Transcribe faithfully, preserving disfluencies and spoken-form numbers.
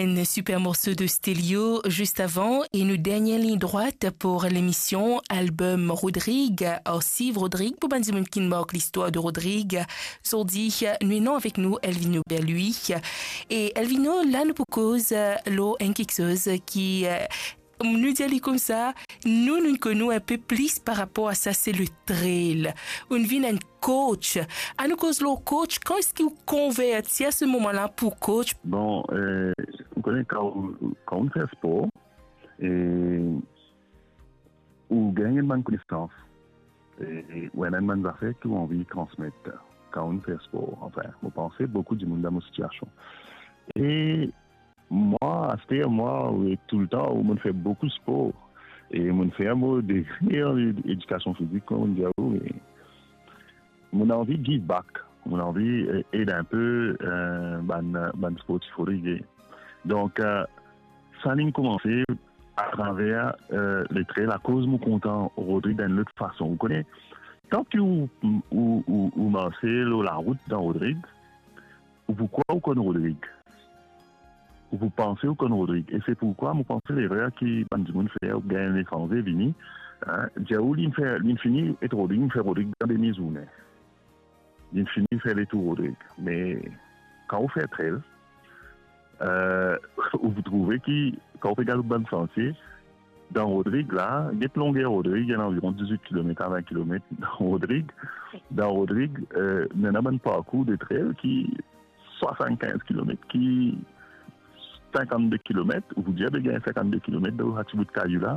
Enn siper morso de Stelio zis avan, e nou dernie lign drwat pou lemision, album Rodrig, Arsiv Rodrig, pou bann dimoun ki mark listwar de Rodrig. Zordi, nou ena avek nou Elvino Berlui. E Elvino, la nou pou koz lor enn kiksoz ki, nou dir li koumsa, nou, nou konn ou enn pe plis par rapor a sa, se le trail. Ou'nn vinn enn coach. Anou koz lor coach, kan eski ou konverti a se moman la pou coach? Bon, euh, ou kone, kan ou, kan ou fer spor, e ou gagn enn bann konesans, e, e ou ena enn bann zafer ki ou anvi transmet kan ou fer spor. Anfin, mo panse boukou dimoun dan mo sitiasion. E mwa, aster mwa, e toultan, ou mo'nn fer boukou spor. E mo'nn fer mo degre an ed-, edikasion fizik, kouma mo'nn dir ou, e mo'nn anvi give back. Mo'nn anvi, eh, ed enn pe, eh, bann, bann sportif oligye. Donk, eh, sa inn koumanse atraver, eh, le trail, akoz mo kontan Rodrig dan enn lot fason. Ou kone, kan ki ou, ou, ou, ou marse lor larout dan Rodrig, ou pou krwar ou konn Rodrig. Ou pou panse ou konn Rodrig. E se pourkwa mo panse lerer ki bann dimoun fer, oubien letranze vini, hein, dir ou li fer, li fini et Rodrig, li fer Rodrig dan demi zourne. Li fini fer letour Rodrig. Me kan ou fer trail, euh, ou pou trouve ki, kan ou pe gard bann santie, dan Rodrig la, get longer Rodrig, ena anviron dizwit kilomet a vin kilomet dan Rodrig. Dan Rodrig, euh, ena bann parkour de trail ki swasannkinz kilomet, ki sinkannde kilomet, ou pou dir, be gagn sinkannde kilomet dan sa ti bout kayou la.